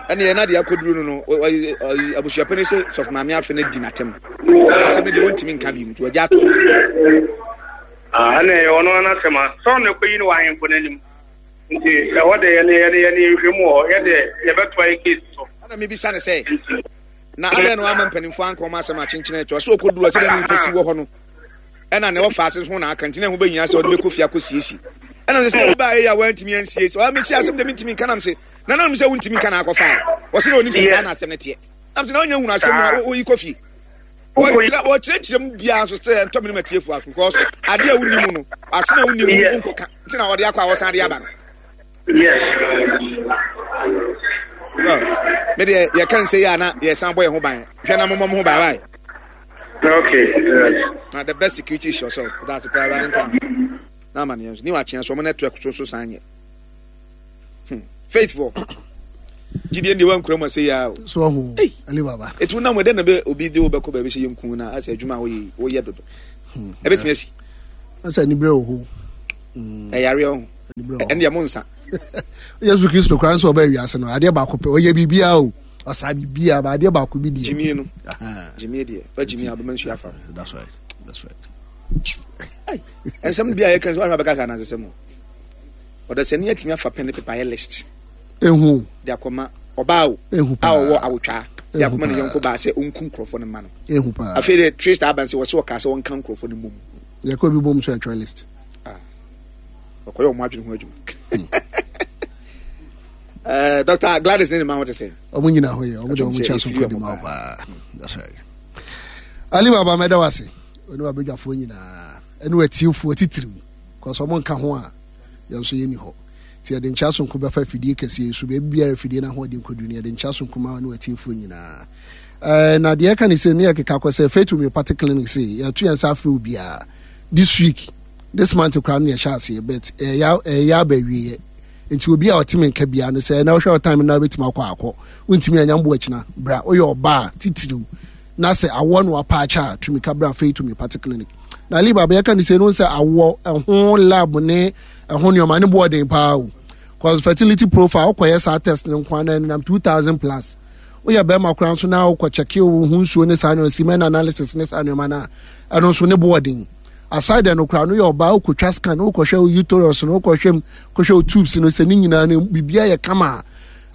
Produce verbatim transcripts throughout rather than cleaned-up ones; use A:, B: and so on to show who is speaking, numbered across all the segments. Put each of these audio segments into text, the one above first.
A: Ɛne yɛn adeɛ akɔduru no no, abusuapɛni sɛ sɔfo maame afe no di n'atɛm. Nti asɛm no deɛ wɔntumi nka bi mu, nti wɔagya ato.
B: Ɛne ɛyɛ ɔno ara n'asɛm a sɛ ɔno ɛkɔyi no wɔ ahemfo no anim. Nti ɛhɔ de yɛne yɛne yɛne nhwɛ mu wɔ hɔ, yɛde yɛbɛtoa yɛ case so.
A: Ɛna mebisa no sɛ, na adɛn na wama mpanimfoɔ anka wɔn asɛm akyenkyene atwa sɛ ɔkɔduru a sɛdeɛ nipa si wɔ hɔ no ɛna ne ɔfa ase ho na aka, nti na ɛho bɛhia sɛ ɔde bɛkɔ fie akɔsiesie. Ɛna sɛ sɛ wobaa ɛyɛ a woantumi ansiesie, ɔa mesi asɛm deɛ mentumi nka, nam se na nanom sɛ wontumi nka na akɔfa ɔse na ɔnim sɛ saa na asɛm no teɛ, nam se na ɔnyɛ hunu asɛm mu a woyi kɔ fie. Wɔkyerɛkyerɛ mu biara nso sɛ ɛntɔ me no matiefoɔ aso, because adeɛ a wonni mu no, asɛm a wonni mu wonkɔka, nti na ɔde akɔ a wɔsan de aba no.
B: Yes.
A: Well, me deɛ yɛka ne sɛ yɛ a na yɛsan bɔ yɛn ho ban. Hwɛ na mommɔ mo ho ban wae.
B: Okay.
A: Na the best security is yourself. That's the power running town. Na ama ne yɛn so. Ni wakyea so ɔmo network so so san nyɛ. Hmm. Faithful. Gyidie deɛ wankura mu asɛ yɛ o.
C: So ɔho. Ali Baba.
A: Etu nam ɛdɛ na bɛ obi de wo bɛkɔ baabi sɛ yɛnku na asɛ adwuma a woyɛ woyɛ dodo.
C: Hmm.
A: Ɛbɛtumi asi.
C: Asɛ anibrɛ wɔ hɔ.
A: Ɛyareɛ ho. Ɛne deɛ mo nsa.
C: Yesu Kristo koraa nso ɔbaa wiase no adeɛ baako pɛ ɔyɛ biribiara o ɔsaa biribiara ba adeɛ baako bi deɛ.
A: Gyimie no. Gyimie deɛ fa gyimie abɛma nsuo afa.
C: That's right. That's right.
A: Nsɛm bi a yɛka nso ahwɛ abɛka sɛ anansesɛm o. Ɔdasani atumi afa pɛn ne pepa ayɛ list.
C: Ehu.
A: De akɔma ɔbaa o.
C: Ehu paa.
A: A ɔwɔ awotwaa. De akɔma ne yɔnko baa sɛ ɔnku nkurɔfoɔ no mma no.
C: Ehu paa.
A: Afei de trace aba nsɛ wɔsɛ wɔkaa sɛ wɔnka nkurɔfoɔ no mmom.
C: Yɛkɔ bi bom so ɛtwerɛ list.
A: Ah. Ɔkɔyɛ ɔmo adwene ho adwuma. Eh, Doctor Gladys ne ne ma ho te sɛ.
C: Ɔmo nyina hɔ yɛ, ɔmo de ɔmo kyɛ so nkɔ di ma paa. That's right. Ali Baba mɛda wase. Ɔne wabadwafoɔ nyinaa. Ɛne watiefoɔ titiriw. Kɔsɔ ɔmo nka ho a yɛn nso yɛnni hɔ. Nti yɛde nkyɛ sonko bɛfa afidie kɛseɛ yi so, baabi biara afidie no ahoɔden kɔduru no, yɛde nkyɛ sonko ma ne watiefoɔ nyinaa. Eh, na deɛ ɛka ne sɛ ne yɛkeka kɔ sɛ Faith Homeopathic Clinic se yɛto yɛn nsa afrɛ obiara this week, this month koraa no yɛhyɛ aseɛ, but ɛyɛ ɛyɛ aba awieɛ. Nti obi a ɔte me nka biara no sɛ ɛna wohwɛ ɔtan no na wobɛtumi akɔ akɔ, wontumi anya mbo akyina bra, woyɛ ɔbaa titiriw na sɛ awoɔ no apaakyɛ a tumi ka bra Faith Homeopathic Clinic. Na liba bɛyɛka ne sɛ no sɛ awoɔ ɛho lab ne ɛho nneɛma ne boɔden paa o, cause fertility profile wokɔyɛ saa test no nko ana ɛnenam two thousand plus. Woyɛ bɛrima koraa nso na wokɔ kyɛke wo ho nsuo ne saa nneɛma, semen analysis ne saa nneɛma no a, ɛno nso ne boɔden. Aside no koraa no yɛ ɔbaa wokɔtwa scan, wokɔhwɛ wo uterus no, wokɔhwɛ mu, kɔhwɛ wo tubes no sɛ ne nyinaa no biribiara yɛ kama.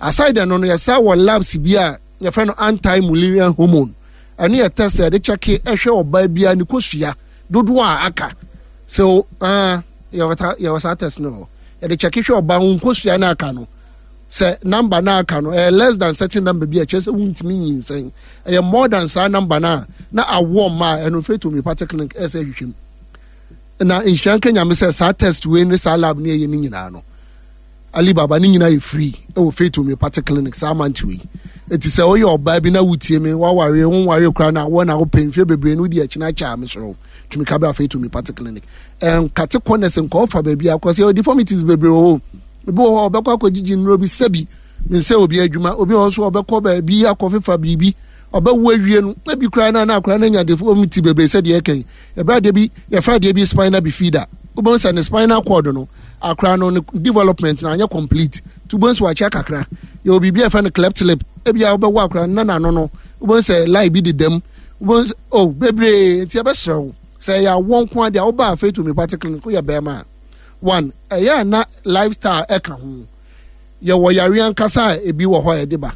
C: Aside no no yɛsa wɔ labs bi a yɛfrɛ no anti-mullerian hormone. Ɛno yɛ test a yɛde kyɛke ɛhwɛ ɔbaa biara ne kosua dodoɔ a aka. So ah yɛwɔ saa test no yɛde kyɛke hwɛ ɔbaa ho nkosua no aka no sɛ number no aka no ɛyɛ less than certain number bi a kyerɛ sɛ wontumi nyinsɛn, ɛyɛ more than saa number no a na awoɔ mma a ɛno Faith Homeopathic Clinic ɛsɛ hwehwɛ mu. Na nhyira nka Nyame sɛ saa test wei ne saa lab ne ɛyɛ ne nyinaa no Ali Baba ne nyinaa yɛ free ɛwɔ Faith Homeopathic Clinic saa month wei. Eti sɛ woyɛ ɔbaa bi na wotie me, waware wonware koraa na wɔ na wopɛ mfie bebree no wodi akyi akyɛ a mesrɛ tumi ka bra Faith Homeopathic Clinic. Ɛnkate corners nkɔ ɔfa baabi akɔ sɛ deformities bebree wɔ hɔ. Ebi wɔ hɔ ɔbɛkɔ akɔgyigyi nnuro bi sɛbi nsɛ obi adwuma, obi wɔ nso ɔbɛkɔ baabi akɔfefa biribi ɔbɛwo awie no ebi koraa na na akora no anya deformity bebree sɛ deɛ ɛka yi. Yɛbɛ adeɛ bi yɛfrɛ adeɛ bi spina bifida, wobɛhu sɛ ne spinal cord no akora no ne development na anyɛ complete nti wobɛhu sɛ wakyɛ kakra. Yɛwɔ biribi a yɛfrɛ no cleft lip, ebi a wobɛwo akora no na n'ano no wobɛhu sɛ line bi dedam, wobɛhu sɛ oh bebree. Nti yɛbɛsrɛ wo sɛ ɛyɛ awoɔ nko adeɛ a wobaa Faith Homeopathic Clinic woyɛ bɛrima a, one ɛyɛ a na lifestyle ɛka ho. Yɛwɔ yare ankasa a ebi wɔ hɔ a yɛde ba,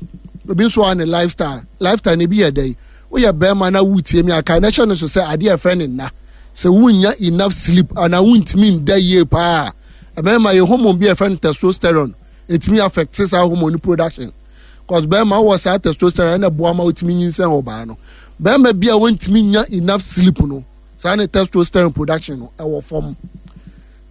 C: ebi nso a ne lifestyle. Lifestyle no ebi yɛ dɛn? Woyɛ bɛrima na wotie mi aka na ɛhyɛ no so sɛ adeɛ a ɛfrɛ ne nna, sɛ wonnya enough sleep anaa wontumi nda yie paa, ɛbɛrima yɛ hormone bi a ɛfrɛ no testosterone ɛtumi affect saa hormone production, cause bɛrima wɔ saa testosterone ɛna boa ma wotumi nyinsɛn ɔbaa no. Bɛrima bi a wontumi nya enough sleep no, saa ne testosterone production no ɛwɔ fam.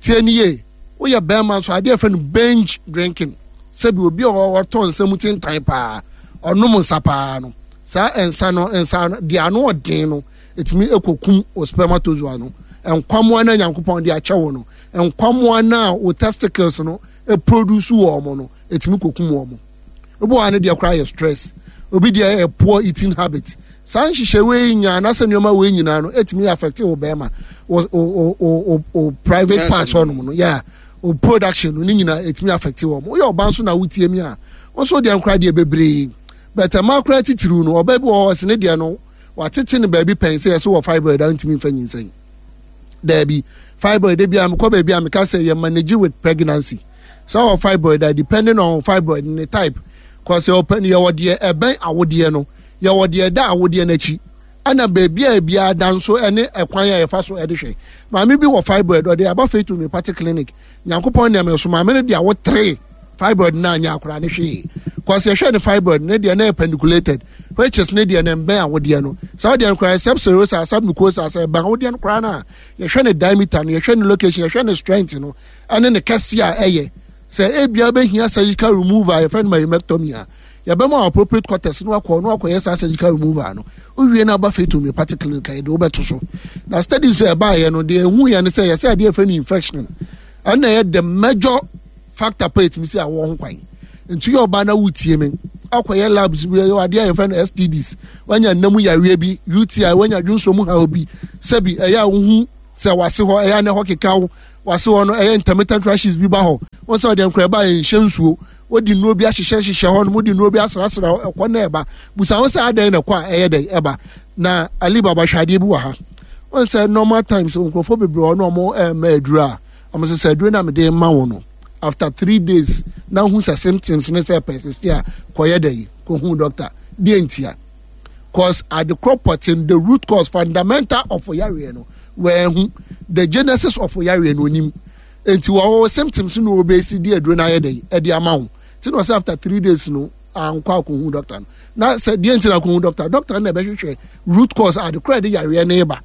C: Tie ni yie, woyɛ bɛrima nso adeɛ ɛfrɛ no binge drinking, sɛbi obi a ɔtɔ nsa mu tentan paa, ɔnom nsa paa no, saa nsa no nsa no deɛ ano ɔden no ɛtumi ɛkɔkum o spermatozoa no, nkwamoa no Nyankopɔn de akyɛ wo no, nkwamoa no a wo testicles no ɛproduce wɔ ɔmo no ɛtumi kɔkum wɔn. Obi wɔ ha no deɛ koraa yɛ stress, obi deɛ yɛ poor eating habit. Saa nhyehyɛ wei nyinaa anaasɛ nneɛma wei nyinaa no ɛtumi affect wo bɛrima wo wo wo wo private parts hɔnom no, yeah, O production no ne nyinaa ɛtumi affect wɔn. Woyɛ ɔbaa nso na wotie mi a, wo nso deɛ nkora deɛ bebree, but mmaa koraa titiriw no, ɔbaa bi wɔ hɔ, ɔse ne deɛ no watete no baabi pɛn sɛ yɛsɛ wɔ fibroid a ntumi mfa nyinsɛn. Daabi, fibroid de bi a mekɔ baabi a meka sɛ yɛ manage with pregnancy. Sɛ wɔ fibroid a, depending on fibroid ne type, cause yɛwɔ yɛwɔ deɛ ɛbɛn awodeɛ no, yɛwɔ deɛ ɛda awodeɛ n'akyi, ɛna beebi a ebiara da nso ɛne ɛkwan a yɛfa so ɛde hwɛ. Maame bi wɔ fibroid, ɔde aba Faith Homeopathic Clinic. Nyankopɔn nneɛma so, maame no de awo three, fibroid na anya akora ne hwee, cause yɛhwɛ ne fibroid ne deɛ na yɛ pedunculated, which is ne deɛ ne mbɛn awodeɛ no. Saa deɛ no koraa, subserosa, submucosa, sɛ ɛbɛn awodeɛ no koraa no a, yɛhwɛ ne diameter no, yɛhwɛ ne location, yɛhwɛ ne strength no ɛne ne kɛse a ɛyɛ sɛ ebia bɛhia surgical removal a yɛfrɛ no myomectomy a, yɛbɛma appropriate quarters no akɔ no akɔyɛ saa surgical removal no. Wowie no, aba Faith Homeopathic Clinic a, yɛde wobɛto so. Na studies a ɛbaeɛ no deɛ, ɛhu yɛ no sɛ yɛsɛ adeɛ yɛfrɛ no infection ɛna ɛyɛ the major factor pa ɛtumi sɛ awɔ ho kwan. Nti yɛ ɔbaa na wotie me, akɔyɛ labs bi, ɛyɛ adeɛ a yɛfrɛ no S T Ds, wanya nnamu yareɛ bi, U T I, wanya dwonso mu haw bi, sɛbi ɛyɛ a wohu sɛ wase hɔ ɛyɛ a na ɛhɔ keka wo, wase hɔ no ɛyɛ intermittent rashes bi ba hɔ, wɔn sɛ ɔde nkora ɛba nhyɛ nsuo, wodi nnuro bi ahyehyɛ hyehyɛ hɔ no, wodi nnuro bi asrasra ɛkɔ na ɛba, busa wɔn sɛ adan na ɛkɔ a ɛyɛ dɛ ɛba. Na Ali Baba, hwɛ adeɛ bi wɔ ha. Wɔn sɛ normal times nkurɔfoɔ bebree wɔ no, wɔn ɛɛma aduro a wɔn sɛ sɛ aduro na mede ma wɔn no, after three days na ho sɛ symptoms ne sɛ persist a, kɔyɛ dɛ yi kɔhu doctor. Deɛ ntia, cause adekorɔ pɔten, the root cause, fundamental of yareɛ no, wɔahu the genesis of yareɛ no onim, nti wɔwɔ symptoms no, wɔbɛsi di aduro no ayɛ dɛ ɛde ama wo. Ti na ɔsɛ after three days no ankɔ akɔhu doctor no, na sɛ deɛ nti na akɔhu doctor, doctor no na ɛbɛhwehwɛ root cause adekorɔ a ɛde yareɛ no ba.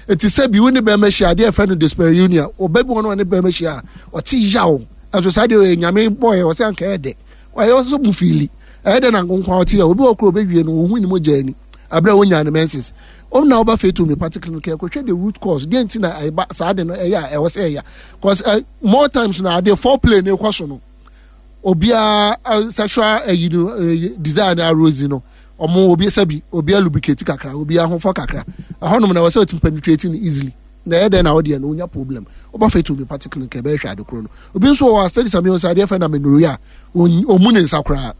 C: Nti sɛ bi wo ne bɛrima hyia, adeɛ ɛfrɛ no dyspareunia, ɔba bi wɔ no, ɔne bɛrima hyia a, ɔte yaw. Ɛnso saa deɛ ɔyɛ Nyame bɔɔyɛ, ɔsɛ anka ɛyɛ dɛ, ɔyɛ ɔsɛ mu fiili ɛyɛ dɛ na nkonkwa ɔte yaw. Obi wɔ koro ɔbɛwie no, ohun ne mo gya ani abere a wonya ne menses. Wɔn na ɔba Faith Homeopathic Clinic, ɛkɔhwɛ the root cause, deɛ nti na ɛba saa de no, ɛyɛ a ɛwɔ sɛ ɛyɛ, cause uh, more times na adeɛ foreplay ne kɔ so no, obiara uh, sexual ɛyi no, uh, desire no arose no, ɔmo obi sɛbi obiara lubricate kakra, obiara ho fɔ kakra, ɛhɔnom na ɛwɔ sɛ ɔtumi penetrate no easily, na ɛyɛ dɛn na ɔdeɛ no onya problem. Ɔba Faith Homeopathic Clinic, ɛbɛhwɛ ade koro no. Obi nso wɔ study sami ɔsɛ adeɛ fɛ na amenorrhea, ɔmu ne nsa koraa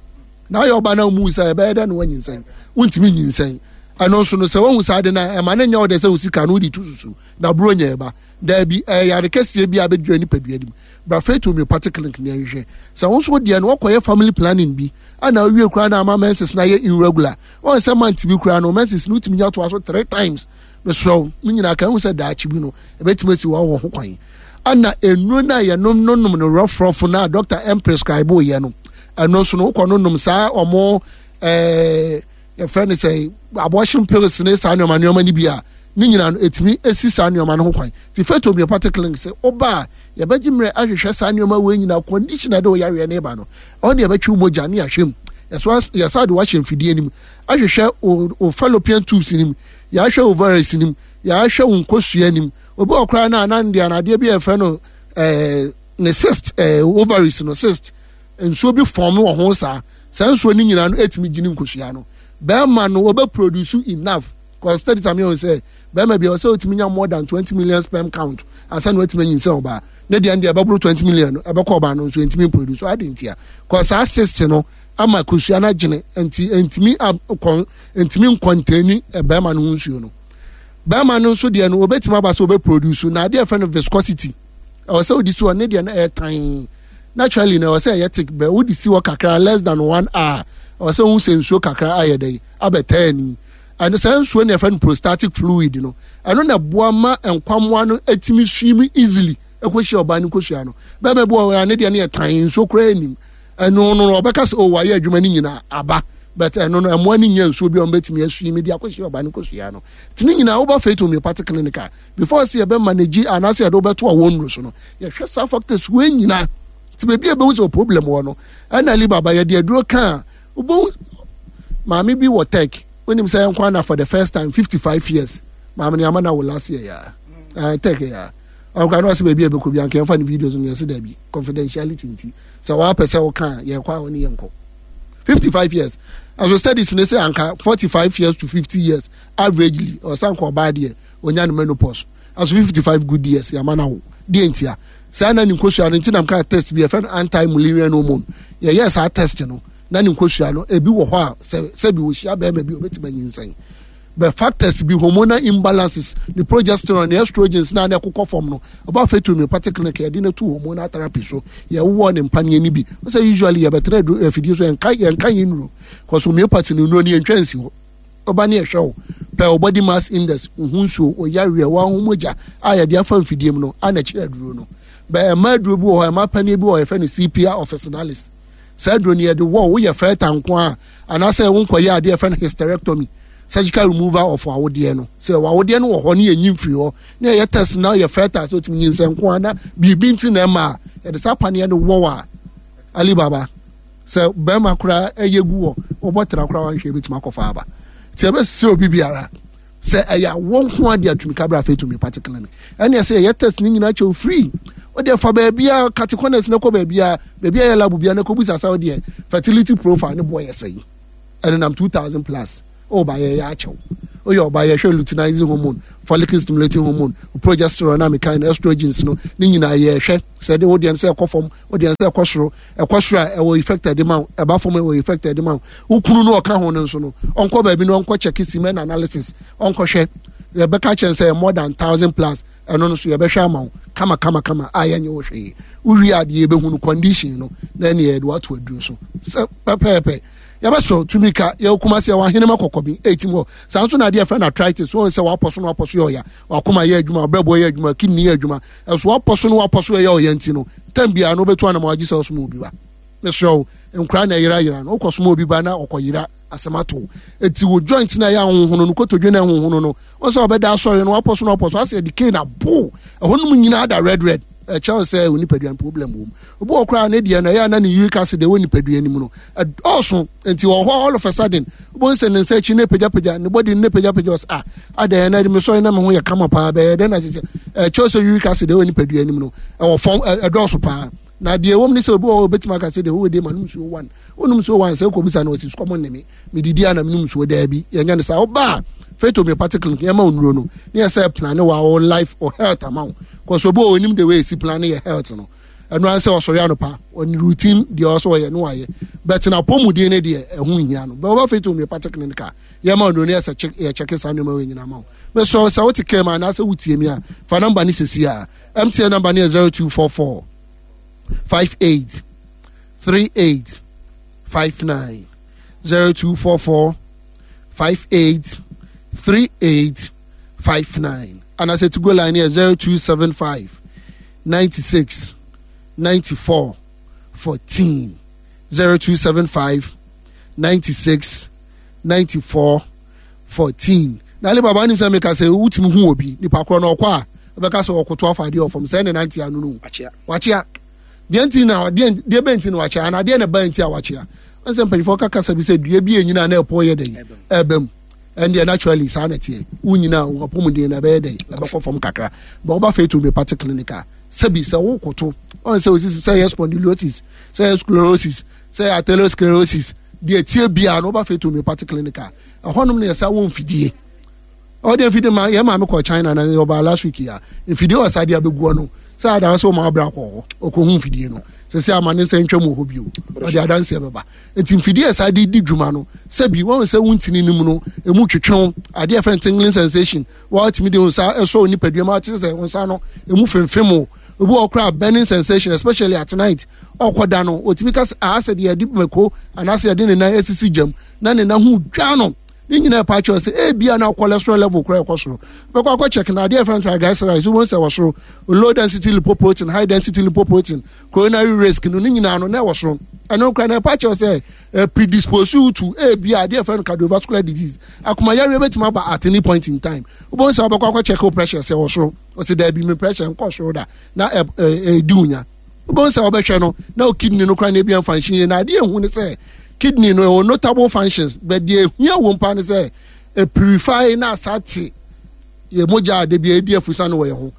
C: na ayɛ ɔba na ɔmu nsa, ɛbɛyɛ dɛ na wɔnyinsɛn, wontumi nyinsɛn. Ɛno nso no, sɛ wɔhu saa de na ɛma ne nyɛ ɔdɛ sɛ osika no wode tu susu na buro nyɛ ɛba. Daabi, ɛyɛ yare kɛseɛ bi a bɛdwira nipadua nim. Bra Faith Homeopathic Clinic ne ɛhwehwɛ sɛ wo nso deɛ no, wɔkɔyɛ family planning bi ana awie koraa na ama menses na ayɛ irregular. Wɔn sɛ month bi koraa no, menses no wotumi nya toa so three times. Mesrɛ wo, ne nyinaa ka ho sɛ daakye bi no ɛbɛtumi asi wɔn wɔ ho kwan. Ana nnuro no a yɛnom no nom no rɔfrɔfo no a doctor ɛm prescribe yɛ no, ɛno nso no wokɔ no nom saa, ɔmo ɛɛ yɛfrɛ no sɛ abortion pills ne saa nneɛma nneɛma no bi a, ne nyinaa no ɛtumi esi saa nneɛma no ho kwan. Ti Faith Homeopathic Clinic sɛ ɔba a, yɛbɛgye mmerɛ ahwehwɛ saa nneɛma wei nyinaa, condition a ɛde ɔyareɛ no ba no, ɔno de yɛbɛtwe mogya ne yɛahwɛ mu, yɛso yɛsa de wahyɛ mfidie no mu ahwehwɛ o o fallopian tubes nim, yɛahwɛ ovaries nim, yɛahwɛ wo nkosua nim. Obi wɔ koraa na anan deɛ anadeɛ bi a yɛfrɛ no ɛɛ ne cyst, ɛɛ ovaries no cyst, nsuo bi form wɔ ho. saa saa nsuo no nyinaa no etumi gyini nkosua no. Bɛrima no wɔbɛ produce enough, cause studies ami wɔn sɛ bɛrima bi a ɔsɛ otumi nya more than twenty million sperm count ansa na watumi anyinsɛn ɔbaa. Ne deɛ no deɛ ɛbɛboro twenty million no, ɛbɛkɔ ɔbaa no nso ntumi produce adi ntia, cause saa cyst no ama kosua no agyene, nti ntumi akɔ ntumi nkɔntɛni bɛrima no ho nsuo no. Bɛrima no nso deɛ no, obetumi aba sɛ ɔbɛ produce na adeɛ fɛ no viscosity, ɛwɔ sɛ odi so ne deɛ no ɛyɛ tan. Naturally na ɛwɔ sɛ ɛyɛ thick, bɛ wodi si hɔ kakra, less than one hour, ɛwɔ sɛ ohun sɛ nsuo kakra ayɛ dɛ abɛtaa ni. Ɛno saa nsuo no yɛfrɛ no prostatic fluid no, ɛno na ɛboa ma nkwamoa no etumi swim easily ɛkɔhyia ɔbaa no nkosua no. Bɛrima bi wɔ hɔ a ne deɛ no yɛ tan, nsuo koraa anim. Ɛno no ɔbɛka sɛ, "Oh, wayɛ adwuma no nyinaa aba," but ɛno no ɛmoa no nya nsuo bi a ɔmbɛtumi aswim de akɔhyia ɔbaa no nkosua no. Nti ne nyinaa woba Faith Homeopathic Clinic a, before sɛ yɛbɛ manage anaasɛ yɛde wobɛto a wɔn nnuro so no, yɛhwɛ saa factors wei nyinaa. Nti baabi a ɛbɛhu sɛ problem wɔ no, ɛna Ali Baba yɛde aduro ka a, wobɛhu maame bi wɔ tech, wonim sɛ yɛnkɔ ana for the first time fifty five years, maame no yɛama no awo last year yaa uh, tech yaa ɔkora na ɔsɛ baabi a ɛbɛkɔ bi anka yɛmfa ne videos no, yɛsɛ daabi, confidentiality nti sɛ wɔapɛ sɛ woka a, yɛkɔ a wɔne yɛnkɔ. fifty five years ɛso studies ne sɛ anka forty five years to fifty years averagely ɔsan kɔ ɔbaa deɛ onya ne menopause. Ɛso fifty five good years yɛama no awo. Deɛ ntia Saa na ne nkosua no nti nam ka test bi yɛfrɛ no anti-Mullerian hormone. Yɛyɛ saa test no na ne nkosua no ebi wɔ hɔ a sɛ sɛbi wɔhyia bɛrima bi obɛtumi anyinsɛn, but factors bi, hormonal imbalances, ne progesterone ne estrogens na na ɛkokɔ fam no. Ɔba Faith Homeopathic Clinic, yɛde no to hormonal therapy so, yɛwowɔ ne mpaneɛ no bi. Sɛ usually yɛbɛtena afidie so, yɛnka yɛnka yɛn nnuro, cause homeopathy no nnuro no yɛntwa nsi hɔ. Ɔba ne yɛhwɛ wo pɛ wo body mass index, wo ho nsuo, wo yareɛ, wo ahomogya a yɛde afa mfidie mu no ana kyerɛ aduro no. Bɛ ɛma aduro bi wɔ hɔ, ɛma paneɛ bi wɔ hɔ, yɛfrɛ no Sepia officinalis. Saa aduro no yɛde wɔ woyɛ fertile nko a, anaasɛ wonkɔyɛ adeɛ yɛfrɛ no hysterectomy, surgical removal of awodeɛ no. Sɛ awodeɛ no wɔ hɔ ne yɛnyi mfiri hɔ ne yɛyɛ test na yɛ fertile sɛ wotumi nyinsɛn nko a, na biribi nti na ɛma a yɛde saa paneɛ no wɔ a, Alibaba, sɛ bɛrima koraa ɛyɛ gu wɔ wɔbɔ tena koraa wanhwɛ ebɛtumi akɔfa aba. Nti ɛbɛsɛ obi biara sɛ ɛyɛ awɔ nko ade atumi kabra Faith Homeopathic Clinic, ɛne ɛsɛ yɛyɛ test ne nyinaa kyɛw free. Wode fa baabia kate corners na kɔ baabia baabia yɛ lab bia na kɔbusa sɛ wodeɛ fertility profile ne boɔ yɛ sɛn. Ɛne nam two thousand plus. Ɔba yɛyɛ akyɛw, woyɛ ɔba, yɛhwɛ luteinizing hormone, follicle stimulating hormone, progesterone na mekan no, estrogens no ne nyinaa yɛhwɛ sɛ de wodeɛ no sɛ ɛkɔ fam, wodeɛ no sɛ ɛkɔ soro. Ɛkɔ soro a, ɛwɔ effect ɛde ma wo. Ɛba fam, ɛwɔ effect ɛde ma wo. Wo kunu no ɔka ho no nso no, ɔnkɔ baabi no ɔnkɔ check semen analysis, ɔnkɔhwɛ. Yɛbɛka kyɛn sɛ more than thousand plus. Ɛno no so yɛbɛhwɛ ama wo kama kama kama a yɛnyɛ wo hwee. Wowie adeɛ, yɛbɛhu no condition no na ɛne yɛde wato aduro so sɛ pɛpɛɛpɛ. Yɛbɛsɔ tumi ka yɛwɔ Kumase, yɛwɔ Ahenema Kɔkɔbi eighteen hɔ. Saa nso na adeɛ yɛfrɛ no arthritis, wɔn sɛ wapɔ so no, wapɔ so yɛ ɔya, wakoma yɛ adwuma, ɔbrɛboɔ yɛ adwuma, kidney yɛ adwuma, ɛso wapɔ so no, wapɔ so yɛ ɔya. Nti no tɛm biara no wobɛtu anam agye sɛ ɔsoma obi ba. Mesrɛ wo, nkora na ɛyera yera no, wokɔ soma obi ba na ɔkɔ yera asɛm ato. Eti wo joint na ɛyɛ ahohono no, kotodwe na ɛhohono no, wɔn sɛ ɔbɛda asɔre no, wapɔ so no, wapɔ so asɛ ɛde cane abo ɛhɔ nom nyinaa da red red, ɛkyɛw sɛ o nipadua no problem wɔ mu. Obi wɔ koraa ne deɛ no ɛyɛ ana ne uric acid ɛwɔ nipadua no mu no ɛdɔɔso, nti wɔ hɔ all of a sudden wobɛhu sɛ ne nsa akyi ne pagyapagya, ne body ne pagyapagya. Ɔsɛ ah, adɛn na mesɔre na me ho yɛ kama paa, bɛyɛ dɛn na sɛ ɛkyɛw sɛ uric acid ɛwɔ nipadua no mu no ɛwɔ fam, ɛdɔɔso paa. Na deɛ ɛwɔ mu ne sɛ obi wɔ hɔ obɛtumi aka sɛ deɛ ɔwɔ de ma nom nsuo one, wonom nsuo one sɛ wokɔbisa no, ɔsi sukɔmɔ ne me medidi a na menom nsuo. Daabi, yɛnyɛ no saa. Wobaa Faith Homeopathic Clinic, yɛma wo nnuro no ne yɛ sɛ plan wa wo life or health ama wo, kɔsɛ obi wɔ onim the way esi plan yɛ health no. Ɛno ara sɛ ɔsɔre anɔpa, ɔne routine deɛ ɔsɔ ɔyɛ no wayɛ, but na apɔmuden ne deɛ ɛho nhia no bɛn. Ɔba Faith Homeopathic Clinic a, yɛma wo nnuro no, yɛ sɛ yɛ check saa nneɛma wɔ nyinaa ma wo. Mesɔ sɛ wote kɛm a anaasɛ wotie mi a, fa number ne sisi a M T N number ne yɛ zero two four four five eight three eight five nine, zero two four four five eight three eight five nine, anaasɛ Tigo line yɛ zero two seven five ninety-six ninety-four fourteen, zero two seven five ninety-six ninety-four fourteen. Na Alibaba nim sɛ meka sɛ wotumi hu obi nipa korɔ na ɔkɔ a, ɛbɛka sɛ ɔkoto afa adeɛ ɔfam sɛ ɛne nante ano no wakyea deɛ nti na deɛ deɛ bɛn nti na wakyea, anaa deɛ na ba nti a wakyea. Wɔn sɛ mpanyinfoɔ kaka sɛ bi sɛ dua bi enyina na ɛpɔ yɛ dɛn ɛbɛ mu, ɛndeɛ naturally saa na teɛ. Wonyina wɔ apɔmuden na ɛbɛyɛ dɛn ɛbɛkɔ fam kakra bɛ. Ɔba Faith Homeopathic Clinic a, sɛbi sɛ wokoto wɔn sɛ osisi sɛ yɛ spondylosis, sɛ yɛ sclerosis, sɛ yɛ atherosclerosis, deɛ tie biara na ɔba Faith Homeopathic Clinic a, ɛhɔnom no yɛ sɛ wɔ mfidie. Ɔde mfidie ma yɛn maame kɔ China na ɔbaa last week a, mfidie wɔ saa de abɛguɔ no sɛ ada sɛ ɔma abira kɔ hɔ ɔkɔhu mfidie no sɛ sɛ ama ne nsa ntwam wɔ hɔ bio, ɔde adanseɛ bɛba. Nti mfidie a saa de di dwuma no, sɛbi wɔn sɛ wontini no mu no emu twetwew adeɛ fɛn tingling sensation, wɔatumi de wɔn nsa ɛsɔ nipadua mu ate sɛ wɔn nsa no emu femfem o. Obi wɔ koraa, burning sensation, especially at night, ɔkɔ da no otumi ka sɛ asɛ deɛ yɛde mako anaasɛ yɛde ne nan esisi gyam na ne nan ho dwa no. Ne nyinaa ɛpa kyerɛ sɛ ebia na cholesterol level koraa ɛkɔ soro. Bɛkɔ akɔ check na adeɛ ɛfɛn triglycerides, wɔn sɛ wɔ soro, low density lipoprotein, high density lipoprotein, coronary risk no ne nyinaa no na ɛwɔ soro. Ɛno koraa na ɛpa kyerɛ sɛ ɛ predispose you to ebia adeɛ ɛfɛn cardiovascular disease, akomayareɛ bɛtumi aba at any point in time. Wɔn sɛ wɔbɛkɔ akɔ check wo pressure sɛ wɔ soro, ɔsɛ daabi, mi pressure nkɔ soro da, na ɛ ɛ ɛdi wunya. Wɔn sɛ wɔbɛhwɛ no na o kidney no koraa na ebi function yie. Na adeɛ ehu ne sɛ kidney no ɛwɔ notable functions, but deɛ ehia wɔ mpa ne sɛ e purify na asa te yɛ mogya ade bi a edi afusa no wɔ yɛn ho.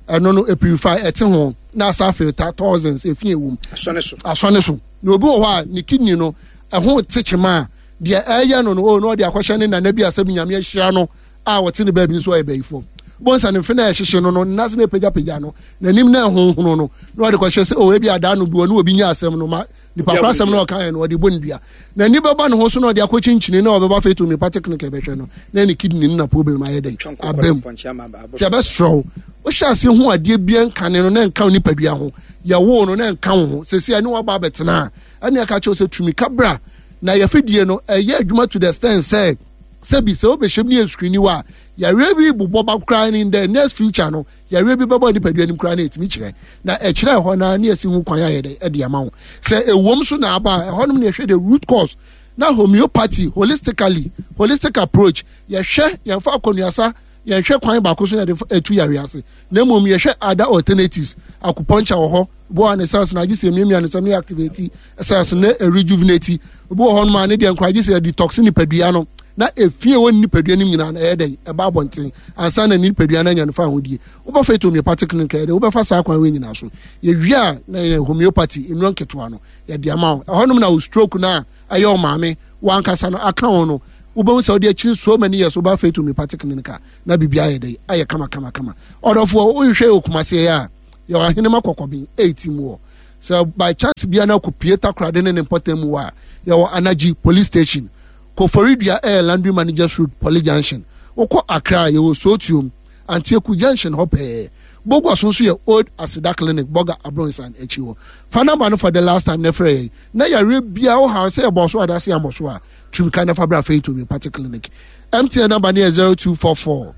C: Ɛno no e purify, ɛte ho na asa filter toxins efi ewu mu.
A: Asɔne so.
C: Asɔne so. Na obi wɔ hɔ a ne kidney no ɛho te kyema a, deɛ ɛyɛ no no o na ɔde akɔhyɛ ne nana bi asɛm Nyame ahyia no a wɔte ne baabi nso ɔyɛ bɛyifoɔ. Bonsa ne mfe na ɛhyehye no no nase na ɛpagyapagya no n'anim na ɛhonhono no na ɔde kɔhyɛ sɛ oh, ebi adaa no bi ɔne obi nya asɛm no ma nipa koro asɛm na ɔka yɛ no ɔde bɔ ne dua. N'ani bɛba ne ho so na ɔde akɔ kyinkyini na ɔbɛba Faith Homeopathic Clinic ɛbɛhwɛ no na ne kidney no na problem ayɛ dɛn abam. Nti ɛbɛserɛ wo, wohyɛ ase ho adeɛ bia nkane no na nka wo nipadua ho, yɛwoo no na nka wo ho, sɛsi ɛne waba abɛtena a ɛne ɛka kyerɛ sɛ tumi ka bra na yɛfidie no ɛyɛ adwuma to the extent sɛ sɛbi sɛ wobɛhyɛm ne yɛ screen wa a yareɛ bi bobɔ ba koraa ne the next future no yareɛ bi bɛbɔ nipadua nim koraa na ɛtumi kyerɛ na ɛkyerɛ ɛhɔ na ne yɛsi ho kwan ayɛ dɛ ɛde ama wo. Sɛ ɛwom so na aba a ɛhɔnom ne yɛhwɛ the root cause na homeopathy holistically, holistic approach, yɛhwɛ yɛmfa akɔnuasa, yɛnhwɛ kwan baako so yɛde ɛtu yareɛ ase na mmom yɛhwɛ other alternatives. Acupuncture wɔ hɔ, bo a ne cells na agye sɛ miamia ne nsɛm ne activate cells ne rejuvenate. Obi wɔ hɔ nom a ne deɛ nkora agye sɛ detox nipadua no na efie wɔ nipadua no nyinaa na ɛyɛ dɛn ɛba abɔnten ansa na nipadua no anya no fa ahodie. Wobɛfa Faith Homeopathic Clinic ɛyɛ dɛ wobɛfa saa kwan wei nyinaa so. Yɛwie a na yɛ homeopathy nnuro nketewa no yɛde ama wo. Ɛhɔnom na wo stroke no a ɛyɛ wo maame wankasa no aka wo no wobɛhu sɛ wode akyiri so many years woba Faith Homeopathic Clinic a na biribi ayɛ dɛn ayɛ kama kama kama. Ɔdɔfoɔ wohwehwɛ yɛ Okumaseɛ a yɛwɔ Ahenema Kɔkɔben eight mu hɔ. Sɛ by chance bia na akɔpie Takoradi ne ne mpɔtam mu hɔ a yɛwɔ Anagye Police Station. Koforidua ɛyɛ Laundry Managers Road Poly Junction. Wokɔ Accra a yɛwɔ Sootuom Antieku Junction hɔ pɛɛ. Bogua so nso yɛ Old Aseda Clinic Boga Abronsan akyi hɔ. Fa number no for the last time na frɛ yɛn na yareɛ biara wo haw sɛ yɛbɔ so anaasɛ yɛammɔ so a tumi ka na fa bra Faith Homeopathic Clinic. M T N number no yɛ zero two four four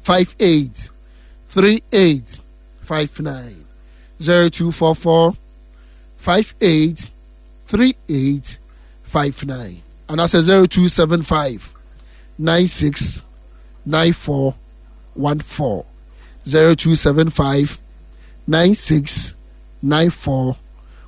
C: five eight three eight five nine, zero two four four five eight three eight five nine anaasɛ zero two seven five nine six nine four one four, zero two seven five nine six nine four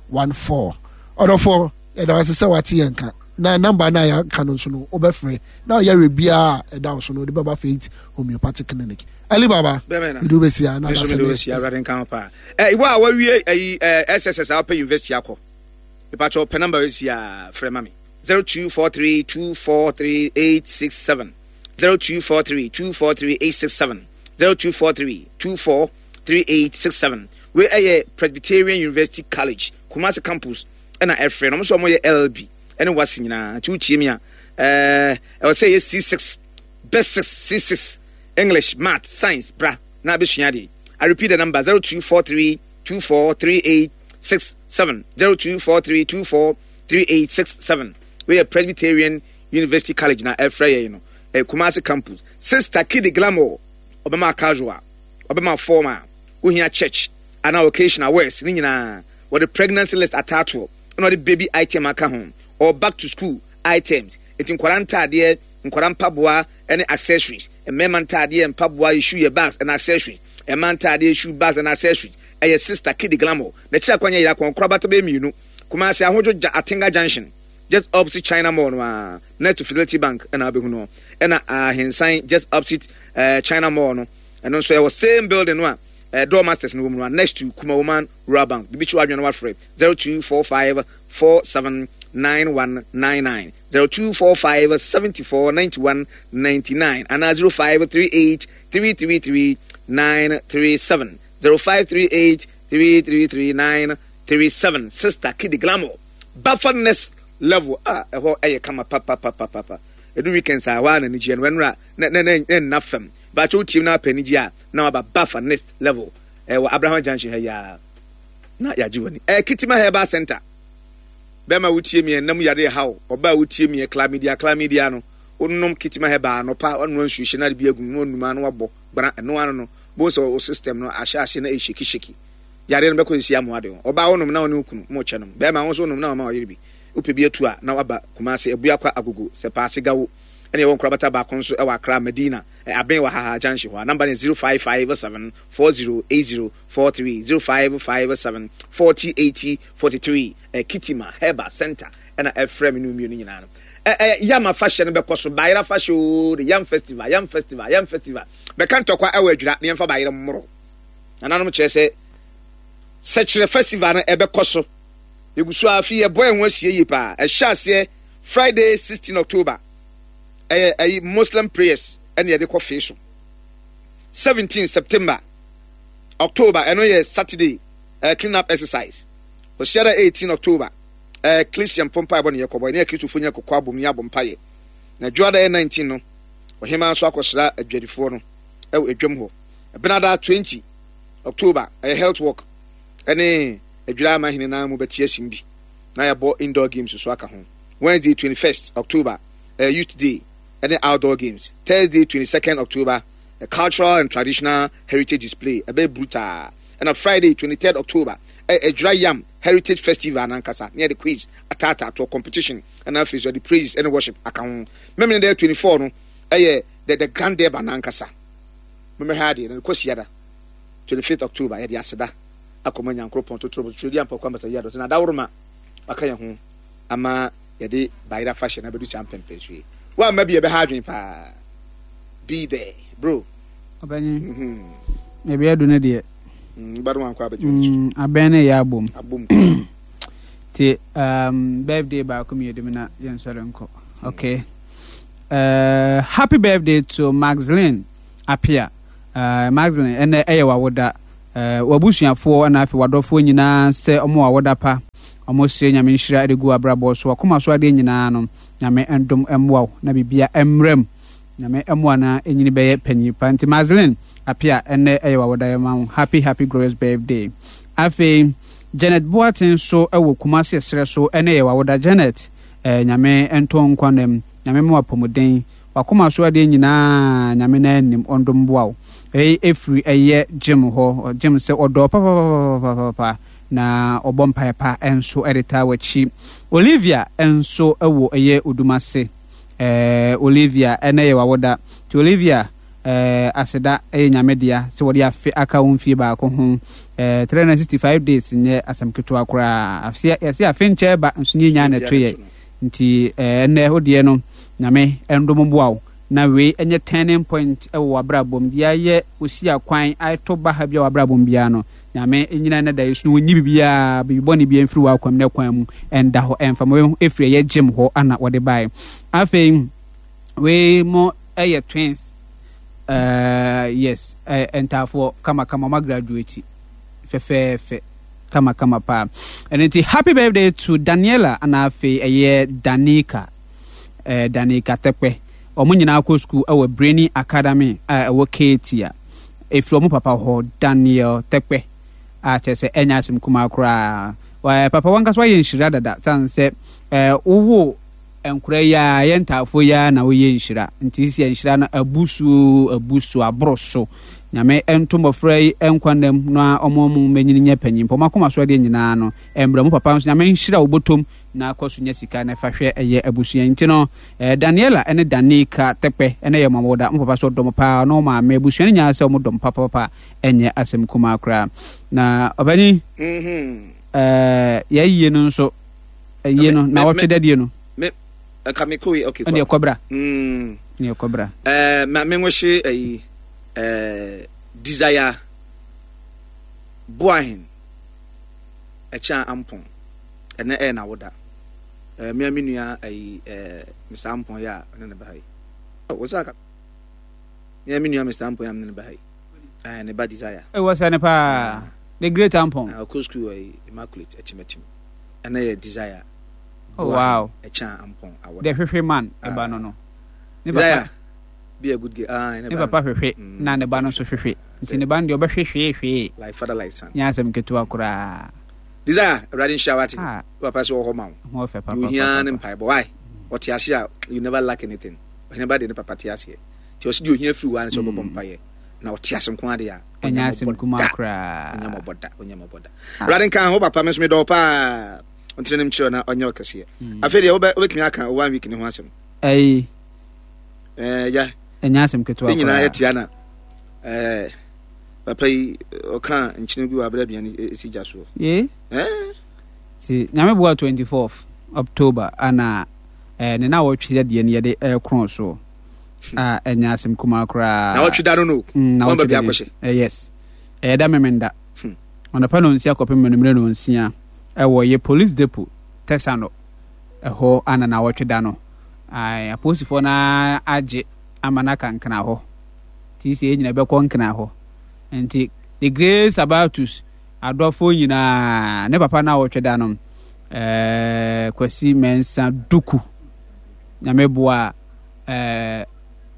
C: one four. Ɔdɔfoɔ yɛda wase sɛ wate yɛn ka na namba no a yɛaka no nso no wobɛfrɛ na ɔyɛ biara a ɛda wo so no wode bɛba Faith Homeopathic Clinic. Ali Baba, mede wobɛsi a na
A: nso mede wobɛsi Awurade nka ho paa. Eh, ibo a wawie ayi eh, S S S a wopɛ university akɔ mepakyɛ pɛ namba wasi a frɛ ma me zero two four three two four three eight six seven, zero two four three two four three eight six seven, zero two four three two four three eight six seven. Wei ɛyɛ Presbyterian University College Kumasi campus ɛna ɛfrɛ no. Ɔmo nso ɔmo yɛ L L B ɛne wasi nyinaa. Nti wotie mi a ɛɛ ɛwɔ sɛ ɛyɛ C six, best six, C six, English, Math, Science, bra na abɛsua adeɛ. I repeat the number zero two four three two four three eight six seven, zero two four three two four three eight six seven. Wei yɛ Presbyterian University College na ɛfrɛ yɛn no, ɛyɛ Kumasi campus. Sister Kidi Glamour ɔbɛma casual, ɔbɛma formal, wohia church anaa occasional wears ne nyinaa. Wɔde pregnancy list ataatoɔ ɛna wɔde baby item aka ho, or back to school items. Eti nkwadaa ntaadeɛ, nkwadaa mpaboa ɛne accessories, mmarima ntaadeɛ, mpaboa, shoe yɛ bags and accessories, mmaa ntaadeɛ, shoe bags and accessories. Ɛyɛ Sister Kidi Glamour. N'akyiri akwan yɛ yera kɔn korabata bɛyɛ mmienu. Kumasi Ahodwo Gya Atenga Junction, just opposite China Mall no a, next to Fidelity Bank ɛna abɛhu no. Ɛna Ahensan just opposite uh, China Mall no. Ɛno nso ɛwɔ same building no a uh, Door Masters no wɔ mu no a, next to Kumawoman Rural Bank. Bibi kyi wadwene no wafrɛ zero two four five four seven nine one nine nine, zero two four five seventy four ninety one ninety nine, and zero five three eight three three three nine three seven, zero five three eight three three three nine three seven. Sister Kidi Glamour, Buffer next level. Ah, ɛhɔ ɛyɛ kama pa pa pa pa pa pa. Edu weekends a wa na nigye no ɛnura na na na na fam. Baacho team na apɛ nigye a na waba Buffer next level. Ɛwɔ Abraham Junction ha ya na yagye wani. Eh, Kitima Herbal Center. Bɛma wutie mi ɛnam yare haw. Ɔba wutie mi chlamydia chlamydia no. Onom Kitima Herbal no pa ɔno nsu hye na bi agu no onuma no wabɔ gbana ɛno ano no. Bo sɛ o system no ahyɛ ase na e shake shake. Yare no bɛkɔ esi amoa de. Ɔba wonom na ɔne okunu mo kyɛ nom. Bɛma wo nso wonom na ɔma ɔyere bi. Wopɛ bi atu a na waba Kumasi Abuakwa Agogo sɛ paase gawo. Ɛne ɛwɔ nkorabata baako nso ɛwɔ Accra Medina aben wɔ Haha Junction hɔ. Number ne zero five five seven four zero eight zero four three, zero five five seven forty eighty forty three. Kitima Herbal Center ɛna ɛfrɛ me no mmienu nyinaa no. Ɛ ɛ yam afahyɛ no bɛkɔ so bayera afahyɛ o, the yam festival, yam festival, yam festival. Bɛka ntɔkwa ɛwɔ adwira ne yɛmfa bayera mmoro. Nananom kyerɛ sɛ sɛkyerɛ festival no ɛbɛkɔ so. Yɛgu so afi yɛbɔ yɛn ho asie yie paa. Ɛhyɛ aseɛ Friday sixteen October. Ɛyɛ ɛyi Muslim prayers ɛna yɛde kɔ fee so. seventeen September, October, ɛno yɛ Saturday, uh, clean up exercise. Osiada eighteen October, uh, Christian pompa ɛbɔ ne yɛ kɔbɔ, ɛne Kristofo nyɛ kɔkɔ abom ne abɔ mpaeɛ. Na dwoada yɛ nineteen no, ɔhemaa nso akɔsra adwadifoɔ no ɛwɔ adwam hɔ. Ɛbenada twenty October, ɛyɛ health work, ɛne adwira ama hene nan mu bɛte asim bi, na yɛbɔ indoor games so aka ho. Wednesday twenty-first October, ɛyɛ youth day, ɛne outdoor games. Thursday twenty-second October, a cultural and traditional heritage display, ɛbɛyɛ brutal. Ɛna Friday twenty-third October, ɛyɛ Adwira Yam Heritage Festival nankasa, ne yɛde quiz ataataatoɔ competition, ɛna afei so yɛde praises ɛne worship aka ho. Memene dɛ twenty-four no, ɛyɛ the, the grand derby nankasa. Memehwɛ adeɛ, na Kwasiada twenty-fifth October, yɛde aseda akɔma Nyankoropɔn totoro totoro di ampɔkɔ ambasa yi adɔte na adaworoma aka yɛn ho ama yɛde bayera fashion abɛdu saa mpɛmpɛn so yi. Woamma bi ɛbɛha adwene paa. Be there, bro.
D: Ɔbɛnye. Ebi adu ne deɛ.
A: Ba no wankɔ abɛgye w'ani
D: so. Abɛn ne yɛ abom.
A: Abom.
D: Ti um, birthday baako mmienu mu na yɛn sɔre nkɔ. Okay. Uh, happy birthday to Maxline Apia. Uh, Maxline ɛnɛ ɛyɛ wawoda. Uh, wabusuafoɔ ɛna afei wadɔfoɔ nyinaa sɛ ɔmo wawoda pa. Ɔmo srɛ Nyame nhyira ɛde gu abrabɔ so. Wakoma so adeɛ nyinaa no Nyame ndom mmoa wo na bibia mmerɛm. Nyame mmoa na enyini bɛyɛ panyin pa. Nti Maxline Apia ɛnɛ ɛyɛ wawoda yɛ ma wo. Happy happy glorious birthday. Afei Janet Boateng so ɛwɔ Kumasi ɛserɛ so ɛnɛ yɛ wawoda. Janet eh, Nyame nto nkwa nam. Nyame mmoa apɔmuden. Wakoma so adeɛ nyinaa Nyame na anim ɔndom boa wo. Ɛyi efiri ɛyɛ Jim hɔ. Jim sɛ ɔdɔ papapapapapa na ɔbɔ mpaeɛ pa nso ɛde taa w'akyi. Olivia nso ɛwɔ ɛyɛ Odumase. Eh, Olivia ɛnɛ yɛ wawoda. Nti Olivia eh, aseda ɛyɛ Nyame dea sɛ wɔde afe aka wo mfie baako ho. Eh, three hundred sixty-five days nyɛ asɛm ketewa koraa. Afe yɛse afe nkyɛ ba nso nyɛ nya na ɛto yɛ. Nti eh, ɛnɛ wodeɛ no Nyame ɛndom boa wo. Na wei ɛnyɛ turning point ɛwɔ w'abrabɔ mu. Deɛ ayɛ osi akwan ato ba ha bi a w'abrabɔ mu biara no, Nyame nyina na da yesu no wɔnyi biribiara, biribi bɔne biara mfiri w'akwam na kwan mu ɛnda hɔ ɛmfa ma wei ɛfiri ɛyɛ gym hɔ ana wɔde baeɛ. Afei wei mo ɛyɛ twins. Uh, yes, uh, ntaafoɔ kama kama ɔma graduate fɛfɛɛfɛ kama kama paa. Ɛno nti happy birthday to Daniela ana afei ɛyɛ Danica, uh, Danica Tɛkpɛ. Ɔmo nyinaa kɔ school ɛwɔ Brainy Academy a ɛwɔ Ketia. Ɛfiri ɔmo papa hɔ Daniel Tɛkpɛ a kyerɛ sɛ ɛnyɛ asɛm kumaa koraa. Ɛɛ, papa wankasa wayɛ nhyira dada san sɛ ɛɛ wowo nkora yi a yɛ ntaafoɔ yi a na woyɛ nhyira. Nti sisi nhyira no abu so abu so aboro so. Nyame ɛnto mmɔfra yi nkwa nam na ɔmo ɔmo mɛnyini nyɛ panyin. Ɔmo akoma so adeɛ nyinaa no ɛmbrɛ mo papa nso Nyame nhyira wo bɔtɔm na akɔ so nya sika na ɛfa hwɛ ɛyɛ abusua. Nti no eh, Daniela ɛne Danica Tɛkpɛ ɛne yɛ mo da. Mo papa so ɔdɔm paa ɔno maame abusua no nyinaa sɛ ɔmo dɔm papapapa ɛnyɛ asɛm kumaa koraa. Na ɔbɛnyi
A: Mhm.
D: eh, yɛayie no nso ɛyie no na wɔtwe dadeɛ no
A: Me nka me kɔ yi okay.
D: Ɛne ɛkɔbra.
A: Mm.
D: Ne ɛkɔbra.
A: Eh, ma me nwehye ayi eh Desire Boahen ɛkyɛn ampɔn. Ɛnɛ ɛyɛ na woda. Eh me me nua ayi eh Mister Ampɔn ya ne ne ba yi. Wo sa ka. Me me nua Mister Ampɔn ya ne ne ba yi. Eh ne ba Desire.
D: E wo sa ne pa. The great Ampɔn.
A: Na ko school ayi Immaculate atimatim. Ɛnɛ yɛ Desire.
D: Oh wow.
A: Ɛkyɛn ampɔn awoda.
D: The hwehwe man ɛba no no.
A: Ne papa be a good girl. Ah,
D: ne papa hwehwe na ne ba no nso hwehwe. Nti ne ba no deɛ ɔbɛhwe hwee hwee.
A: Like father like son.
D: Nyɛ asɛm ketewa koraa.
A: Desire, Awurade nhyira wate. Papa sɛ wɔ hɔ ma wo.
D: Ho ɔfɛ papa.
A: You hia ne mpaebɔ. Why? Ɔte ase a you never lack anything. Ɔhene ba de ne papa te aseɛ. Nti ɔsi deɛ ohia firi hɔ a ne sɛ ɔbɛbɔ mpaeɛ. Na ɔte ase nko ade a.
D: Ɛnyɛ asɛm kumaa koraa.
A: Ɔnyɛ mɔbɔ da. Ɔnyɛ mɔbɔ da. Awurade nka ho papa me nso medɔ wo paa. Ɔntene ne mkyerɛ na ɔnyɛ ɔkɛseɛ. Afei deɛ wobɛtumi aka one week ne ho asɛm.
D: Ɛyi.
A: Ɛɛ ya.
D: Ɛnyɛ asɛm ketewa koraa.
A: Ne nyinaa yɛ tia na ɛɛ papa yi ɔka nkyene gu abere aduane esi gya soɔ.
D: Ye.
A: Ɛɛ.
D: Ti Nyame boa twenty fourth October ana ɛɛ ne na wɔtwe deɛ no yɛde ɛɛkorɔn soɔ. A ɛnyɛ asɛm kumaa koraa.
A: Na wɔtwe da no no.
D: Na
A: wɔn
D: wɔtwe
A: baabi
D: da
A: akɔhyɛ.
D: Eh, yes. Ɛyɛ da memenda. Ɔnɔpa no nsia kɔpem anumere no nsia ɛwɔ yɛ police depot Tɛsano ɛhɔ ana na wɔtwe da no. Ae, apolisifoɔ no agye ama no akankana hɔ. Nti sɛ yɛn nyinaa bɛkɔ Nkran hɔ. Nti the great Sabatus adɔfoɔ nyinaa ne papa no a wɔtwe da no, eh, Kwasi Mensah Duku. Nyame boa eh,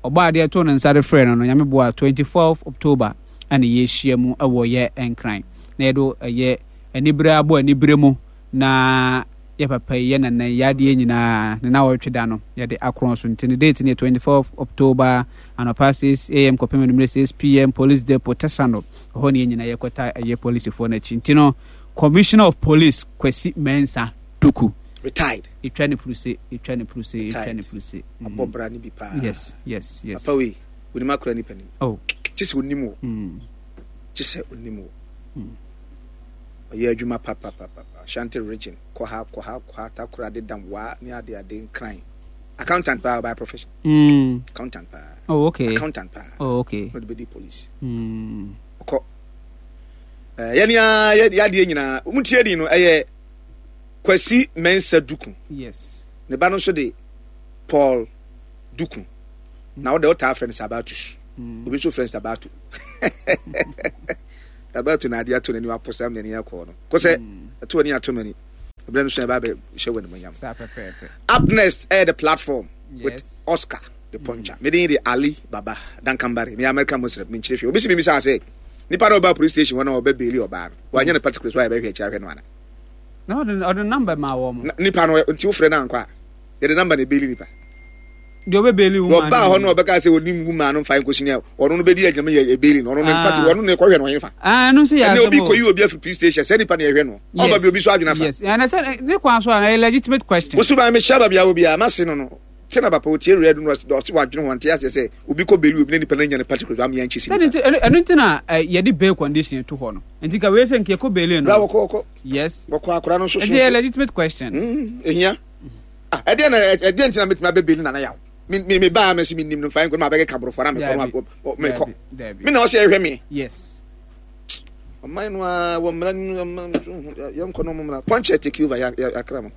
D: ɔbɔ adeɛ to ne nsa de frɛ no no, Nyame boa twenty-fourth October ɛna yɛhyia mu ɛwɔ yɛ Nkran. Na yɛde ɛyɛ anibere abɔ anibere mu na yɛ papa yi yɛ nana yi adeɛ nyinaa ne na wɔtwe da no yɛde akorɔn so. Nti ne date ne twenty-fourth October anɔpa six A M kɔpem anwummerɛ six P M, Police Depot Tesano. Ɛhɔ ne yɛn nyinaa yɛkɔta ɛyɛ polisifoɔ no akyi. Nti no Commissioner of Police Kwasi Mensah Duku,
A: retired.
D: Ɛtwa ne puruse, ɛtwa ne puruse, ɛtwa ne puruse.
A: Abɔ bra ne bi paa.
D: yes yes yes
A: Papa wei onim akora nipa nim.
D: Oh.
A: Kye sɛ onim wo, kye sɛ onim wo. Ɔyɛ adwuma papapapa. Ashanti Region, kɔ ha, kɔ ha, kɔ ha, Takoradi, dam waa ne ade ade, Nkran. Accountant paa by profession.
D: mm.
A: Accountant paa.
D: Oh, okay.
A: Accountant paa.
D: Oh, okay.
A: Na ɔde bɛdi police.
D: mm.
A: Ɔkɔ ɛɛ yɛne a yɛ yadeɛ nyinaa wɔn tie din no ɛyɛ Kwasi Mensah Duku.
D: Yes
A: ne ba no nso de Paul Duku na ɔde ɔtaa frɛ no Sabatus.
D: mm.
A: Obi nso frɛ no Sabato. Sabato na adeɛ ato n'ani waposam n'ani akɔ no kɔsɛ ɛto ani ato m'ani ɛbrɛ no so ɛba abɛ hyɛ wɔ animonyam.
D: Saa pɛpɛɛpɛ.
A: Up next ɛyɛ The Platform with
D: yes
A: Oscar the Puncher. Mm. Mede de Ali Baba Dankambari, me American Muslim, me nkyerɛ hwɛ obi si mi misa sɛ nipa na ɔba police station hɔ na ɔbɛ bail ɔbaa no, wanyɛ no particular so a yɛbɛhwɛ akyire ahwɛ no ana?
D: Na ɔde ɔde number ma wɔ mo.
A: Na- nipa no nti wofrɛ no ankɔ a, yɛde number na ebail nipa.
D: Deɛ ɔbɛ bail wo.
A: Ɔbaa hɔ no, ɔbɛka sɛ onim woman no mfa nkɔsi ne ɔno no bɛdi agyinam yɛ ebail no, ɔno no
D: Ah.
A: mpati ɔno ne kɔhwɛ no ɔyɛ fa.
D: Ah, ɛno nso yɛ
A: ɛnna
D: asɛm
A: obi
D: o.
A: kɔyi obi afiri police station sɛ nipa na yɛhwɛ no, ɔba bi obi so adwene afa.
D: Yes, ɛna sɛ ne kwan so a na ɛyɛ legitimate question.
A: Wosu maa mehyia baabi a wɔ biara mase no no sɛ na papa otie redu no, ɔse wadwene ho ante aseɛ sɛ obi kɔ bail obi na nipa no anya ne particulars ama yɛnkye si
D: sɛde
A: nipa.
D: Nti ɛno ɛno nti na ɛ, yɛde bail condition to hɔ no, nti ka wei sɛ nka yɛkɔ bail
A: bra
D: no.
A: wɔkɔ wɔkɔ
D: Yes.
A: Wɔkɔ akora no nso so.
D: Nti ɛyɛ legitimate question.
A: Mm, ehia. Ah, ɛdeɛ na ɛdeɛ nti na metumi abɛ bail nana yaw me me me baa mɛsi mi nim no nfa nkɔ na mabɛkeka borɔfo na mekɔ no
D: Dabi.
A: mekɔ.
D: Dabi, dabi.
A: Me na ɔsɛ ɛhwɛ me.
D: Yes.
A: Ɔman no a wɔ mmara no yɛnkɔ no mmara. Punch take over yakra mo.